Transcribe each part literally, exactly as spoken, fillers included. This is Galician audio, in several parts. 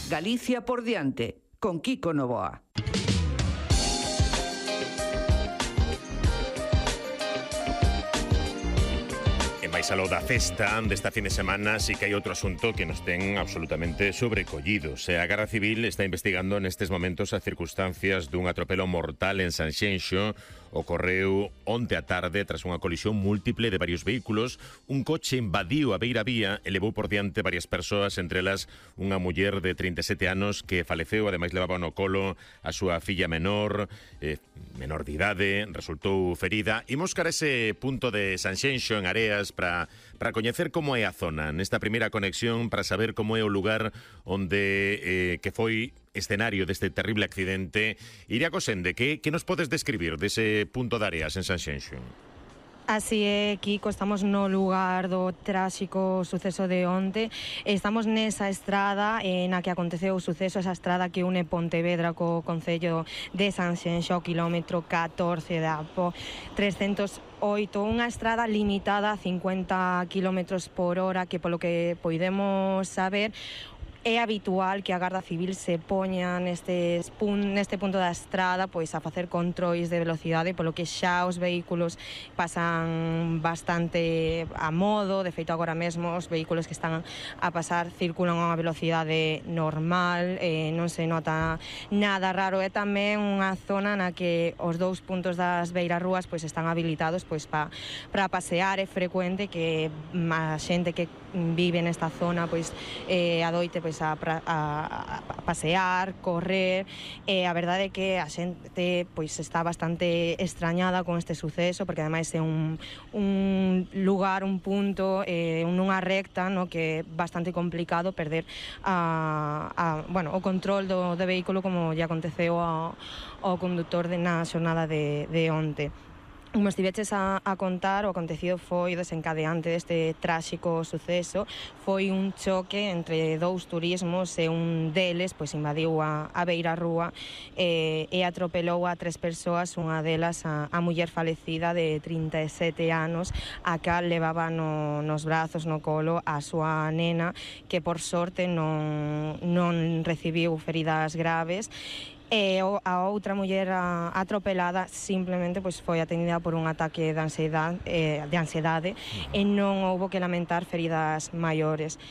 Galicia por diante, con Kiko Novoa. Mais aló da festa desta fin de semana, sí que hai outro asunto que nos ten absolutamente sobrecollidos. A Garda Civil está investigando nestes momentos as circunstancias dun atropelo mortal en Sanxenxo. Ocorreu onte a tarde tras unha colisión múltiple de varios vehículos. Un coche invadiu a beira vía e levou por diante varias persoas, entre elas unha muller de trinta e sete anos que faleceu, ademais levaba no colo a súa filla menor, eh, menor de idade, resultou ferida. Imos cara ese punto de Sanxenxo en Areas para para coñecer como é a zona nesta primeira conexión, para saber como é o lugar onde eh, que foi escenario deste terrible accidente. Iria Cosende, que, que nos podes describir dese punto de Areas en Sanxenxo? Así é, Kiko, estamos no lugar do tráxico suceso de onte. Estamos nesa estrada eh, na que aconteceu o suceso, esa estrada que une Pontevedra co concello de Sanxenxo, quilómetro catorce da A P O trescentos oito, unha estrada limitada a cincuenta kilómetros por hora, que polo que poidemos saber é habitual que a Garda Civil se poña nestes pun, neste punto da estrada pois a facer controis de velocidade, polo que xa os vehículos pasan bastante a modo. De feito, agora mesmo os vehículos que están a pasar circulan a unha velocidade normal, eh, non se nota nada raro. É tamén unha zona na que os dous puntos das beirarrúas pois están habilitados pois pa, para pasear. É frecuente que a xente que vive nesta zona pois eh, adoite pois A, a, a pasear, correr. E a verdade é que a xente pois está bastante extrañada con este suceso, porque ademais é un, un lugar, un punto, eh, nunha recta, no, que é bastante complicado perder a, a, bueno, o control do, do vehículo, como lle aconteceu ao, ao conductor de, na xornada de, de onte. Como estiveches a, a contar, o acontecido foi desencadeante deste tráxico suceso. Foi un choque entre dous turismos e un deles pois invadiu a, a beirarrúa e, e atropelou a tres persoas, unha delas a, a muller falecida de trinta e sete anos, a cal levaba no, nos brazos, no colo, a súa nena, que por sorte non, non recibiu feridas graves. E a outra muller atropelada simplemente pois foi atendida por un ataque de ansiedade, eh, de ansiedade e non houbo que lamentar feridas maiores.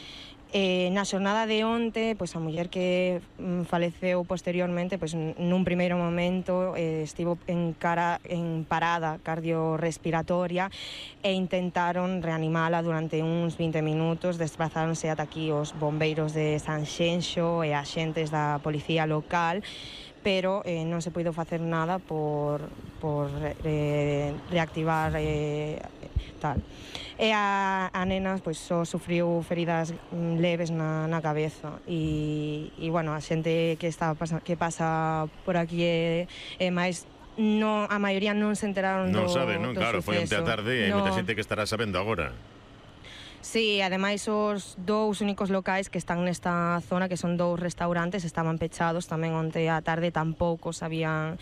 Eh, na xornada de onte, pois a muller que mm, faleceu posteriormente, pois nun primeiro momento eh, estivo en, cara, en parada cardiorrespiratoria e intentaron reanimala durante uns vinte minutos. Desplazáronse ata aquí os bombeiros de Sanxenxo e axentes da policía local, pero eh, non se puido facer nada por, por eh, reactivar eh, tal. E a, a nena pois, só sufriu feridas leves na, na cabeza e, e bueno, a xente que, está, que pasa por aquí é, é máis... No, a maioría non se enteraron non do, sabe, non? do Claro, suceso. Foi onte a tarde e hai no. moita xente que estará sabendo agora. Sí, ademais os dous únicos locais que están nesta zona, que son dous restaurantes, estaban pechados tamén onte á tarde, tampouco sabían